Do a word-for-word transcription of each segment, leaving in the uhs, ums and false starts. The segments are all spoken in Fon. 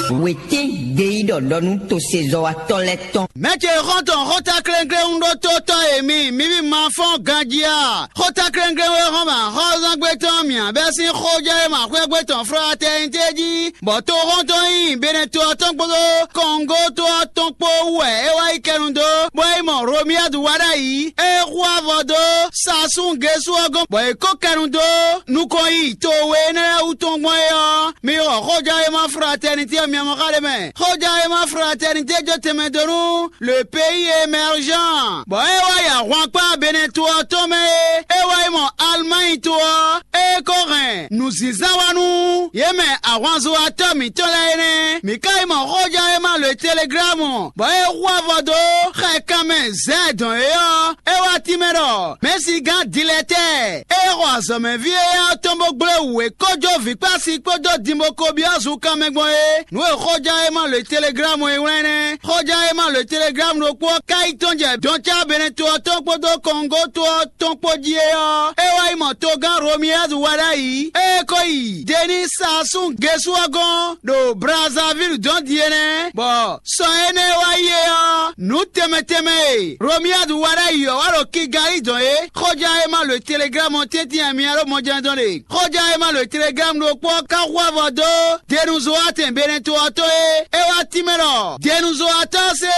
Wětín gbeyíɖɔ ɖɔ nú tosezɔ́watɔ́ lɛ́ɛ tɔn. Mɛ̌ ce xɔ́ntɔn xóta klénklén ɖó tó tɔ́ e mi, mi ví ma fɔ́n ganjí a? Xóta klénklén e hɔn mɛ axɔ́zángbé tɔn mǐ bɛ́ sín xójɛ́ e ma xwé gbé tɔn Fratɛnité jí, bɔ toxɔ́ntɔn nyi Benɛto ɔ́ tɔn kpódó Kɔngó to ɔ́ tɔn kpó wú wɛ é wá yi kɛnu dó, bɔ é mɔ Romiyadu wá ɖ'ayǐ, é xú avɔ dó Sasún Gesú ɔ́ gɔ́n, bɔ è kó kɛnu dó nukɔn yi to we énɛ́ lɛ́ɛ wú tɔn gbɔn é ɔ́, mi xɔ xójɛ́ e ma Fratɛnité ɔ́ mɛ. Xójɛ́ e ma Fratɛnité jó tɛnmɛ dó nú le pays émergent, bɔ é wá yi ahwankpá Benɛto ɔ́ tɔn mɛ é, é wá yi mɔ Alimányi to ɔ́, é ko hɛn nǔzínzán wá nú yě mɛ ahwanzowatɔ́ mǐtɔn lɛ́ɛ é nɛ́. Mǐ ka yi mɔ xójɛ́ e ma le Teleglámu, bɔ é hu avɔ dó xɛ kanmɛ zɛ̌ dɔn é ɔ́, é wá tínmɛ ɖɔ Mɛ̌sigán Dilɛtɛ́ɛ e xɔ azɔ̌mɛví éyɛ́ ɔ́ tɔn bó gblé wǔ e kó jó vǐkpási kpódó dinboko byɔ́ zunkanmɛ gbɔn é. Nǔ e xóján e ma lǒ Teleglámu e wlán nɛ́. Xóján e ma lǒ Teleglámu ɖokpó ɔ́ ka yi tɔ́n jɛ dɔncá Benɛto ɔ́ tɔn kpódó Kɔngó to ɔ́ tɔn kpó jí é ɔ́, é wá yi mɔ togán Romiyadu wá ɖ'ayǐ, ée é ko yi Deníi Saasún Gesú ɔ́ gɔ́n ɖo Blazavílu dɔn din é nɛ́, bɔ sɔ énɛ́ e wá yi é ɔ́, nǔ tɛnmɛ tɛnmɛ e Romiyadu wá ɖ'ayǐ ɔ́ wá ɖo Kigalí dɔn é. Xóján e ma lǒ Teleglámu ɔ́ tɛ́ntin wɛ mi ɔ́ ɖo mɔjɛ́njɔ́n ɖe. Xóján e ma lǒ Teleglámu ɖokpó ɔ́ ka hu avɔ dó Denuzowatɛn Benɛto ɔ́ tɔn é. É wá tínmɛ ɖɔ Denuzowatɔ́ ɔ́ se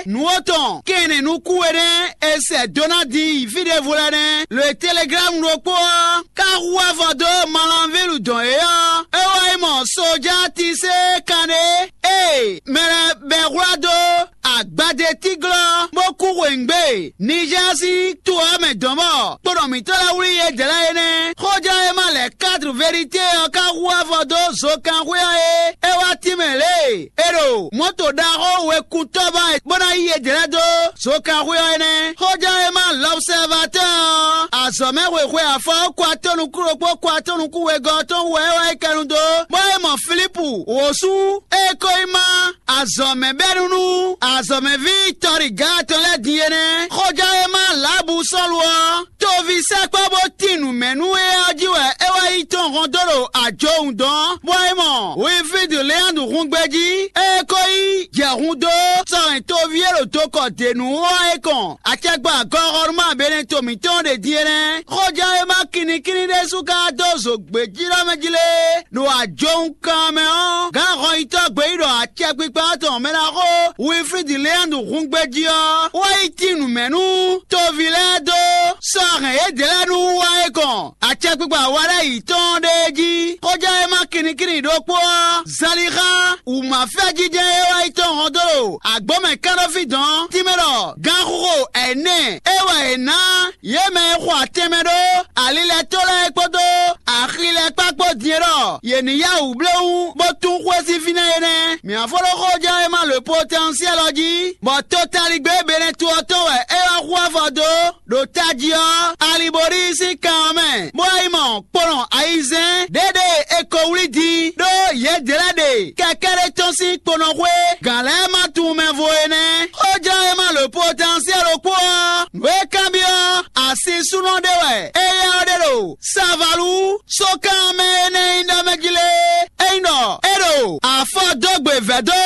nǔ atɔn kɛnnɛ nukún we nɛ́ è sɛ dó ná din yi fí ɖěvo lɛ́ɛ nɛ́. Lǒ e Teleglámu ɖokpó ɔ́ ka hu avɔ dó Malanvílu dɔn é ɔ́, é wá yi mɔ Sojátisé kanɖé e mɛ lɛ́ɛ bɛ́ hwlá dó agbadétíglɔ́ bó kú hweyǐgbe Nizɛ́ɛ sín to ɔ́ mɛ dɔ̌n bɔ kponɔ mǐtɔn lɛ́ɛ wlí yědɛɛ lɛ́ɛ é nɛ́. Xóján e ma lɛ̌ Kadru Velité ɔ́ ka hu avɔ dó zokanxwé ɔ́ é. É wá tínmɛ lě e è ɖo mɔ̌to ɖaxó wekun tɔ́ ba bó ná yí yědɛɛ lɛ́ɛ dó zokanxwé ɔ́ é nɛ́. Xóján e ma Lɔbsɛvatɔ́ɔ ɔ́, azɔ̌ mɛ xwexwe afɔ ɔ́ kɔ atɔ́ nukún ɖokpó kɔ atɔ́ nukún wegɔ́ ɔ́ tɔn wú wɛ é wá yi kɛnu dó, bɔ é mɔ Filípu wǒsú e ko yi má azɔ̌mɛbɛ́nú nú azɔ̌mɛví tɔ́ɖiga tɔn lɛ́ɛ din é nɛ́. Xójá e ma Lǎbu Sɔ́lu ɔ́, toví sɛkpɔ́ bó tín nǔ mɛ nú é ɔ́ jí wɛ é wá yi tɔn hɔn dó ɖo ajowun dɔn, bɔ é mɔ Winflídu Leandu hun gbejí, é ko yi jɛ hun dó sɔhɛn toví e ɖo dokɔ dě nú ɔ́ é kɔn. Acɛkpa gɔxɔnúma Benɛto mǐtɔn ɖe din é nɛ́. Xójá e ma kinnikínní ɖésú ka dó zo gbějíɖɔmɛ jí lé ɖo ajowun kan mɛ ɔ́, gǎn hɔnyitɔ́ gbeyíɖɔ acɛkpikpa tɔn mɛ ná xó Winflídi Leandu hun gbejí ɔ́, wá yi tín nǔ mɛ nú toví lɛ́ɛ dó sɔ́ hɛn yědɛɛ lɛ́ɛ nú wú wá é kɔn acɛkpikpa wa lɛ́ɛ yi tɔn ɖe é jí. Xóján e ma kinnikínní ɖokpó ɔ́, Zalixa wǔmafɛ́jijɛ e wá yi tɔn hɔn dó ɖo agbǒmɛ kánɖófí dɔn tínmɛ ɖɔ gǎnxoxo ɛnɛ e wɛ è nǎ yě mɛ e xo atɛnmɛ ɖó ali lɛ́ɛ tó lɛ́ɛ kpódó axi lɛ́ɛ kpá kpó din e ɖɔ yě ní yá wǔ bléwún bó tún xwé sín fínɛ́ é nɛ́. Mǐ ná fó ɖó xóján e ma lǒ potɛnsiɛ́l ɔ́ jí, bɔ totaligbé Benɛto ɔ́ tɔn wɛ é wá hu avɔ dó ɖo tají ɔ́, Aliborí sín kan ɔ́ mɛ, bó wá yi mɔ kponɔ ayizɛ́n ɖěɖée è ko wlí din ɖó yědɛɛ lɛ́ɛ ɖe kɛkɛ́ ɖé tɔn sín kponɔxwé gǎn lɛ́ɛ ma tunwun mɛ vo é nɛ́. Xóján e ma lǒ potɛnsiɛ́l ɖokpó ɔ́, nǔ e kanbyɔ́ asisúnɔ ɖé wɛ éyɛ́ ɔ́ ɖe ɖo Savalu sókan mɛ énɛ́ nyí ɖɔ mɛ jí lé. É nyí ɖɔ é ɖo afɔ dó gbe vɛ̌ dó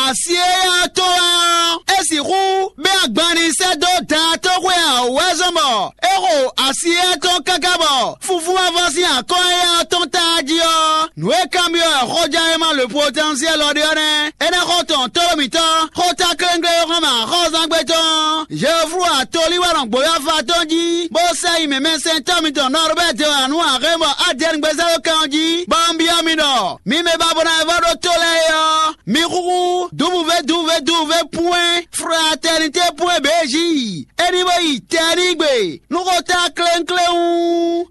asi éyɛ́ ɔ́ tɔn wɛ ɔ́, é sixú bɛ́ agban ní sɛ́ dó daatóxwé ǎ wú wɛ zɔ́n bɔ é xo asi éyɛ́ tɔn káká bɔ fúfú wá vɔ sín akɔ́n éyɛ́ ɔ́ tɔn táá jí ɔ́, nǔ e kanbyɔ́ wɛ xɔján e ma le potɛnsiɛ́l ɔ́ ɖe ɔ́ nɛ́. É ná xɔ tɔn tóɖó mǐtɔn, xóta klénglé e xɔ́n mɛ axɔ́zángbé tɔn, Jeoflu atolí wɛ nɔ gbǒyɔ́fa tɔn jí, bó sɛ nyi mɛmɛsɛntɔ́ mitɔn Nɔrubɛ́ de wǎ nú axé bɔ Adɛ́ɛngbezɛ́lókan ɔ́ jí, bɔ un byɔ́ mi ɖɔ: mi mɛ ba bo ná vɔ ɖó tó lɛ́ɛ é ɔ́, mi xúxú dǔvúvé dǔvúvé dǔvúvé pwɛ́n fratɛnité pwɛ́n bě jí, é ní bó yi tɛnígbe nú xóta klénkléwún.